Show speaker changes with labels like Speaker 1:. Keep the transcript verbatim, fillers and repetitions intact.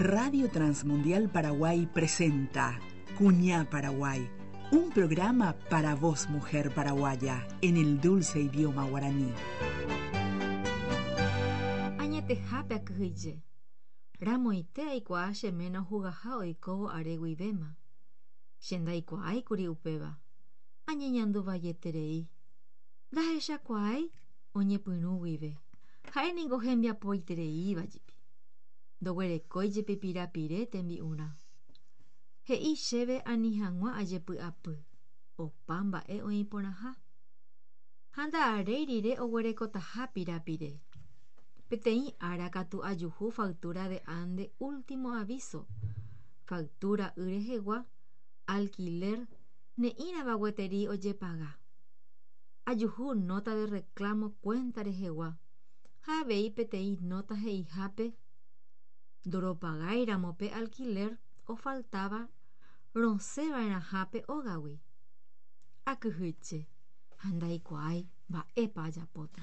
Speaker 1: Radio Transmundial Paraguay presenta Cuñá Paraguay, un programa para vos, mujer paraguaya, en el dulce idioma guaraní.
Speaker 2: Añetehápe akyhyje. Ramoite aikuaa che ména ohugaha oikóvo are guivéma. Che ndaikuaáikuri upéva. Añeñanduvaieterei. Ndahechakuaái oñepyrũ guive. Ha'éniko hembiapoitereívajepi. Ndoguerekóijepi pirapire tembi'urã. He'i chéve ani hag̃ua ajepy'apy. Opa mba'e oĩ porãha. Ha nda'aréi rire oguerekotaha pirapire. Peteĩ ára katu ajuhu factura de ande último aviso. Factura y rehegua, alquiler, ne'írãva gueteri ojepaga. Ajuhu nota de reclamo cuenta rehegua. Ha avei peteĩ nota he'ihápe ndoropagáiramo pe alquiler ofaltava rosẽva'erãhápe ógagui. Akyhyje ha ndaikuaái mba'épa ajapóta.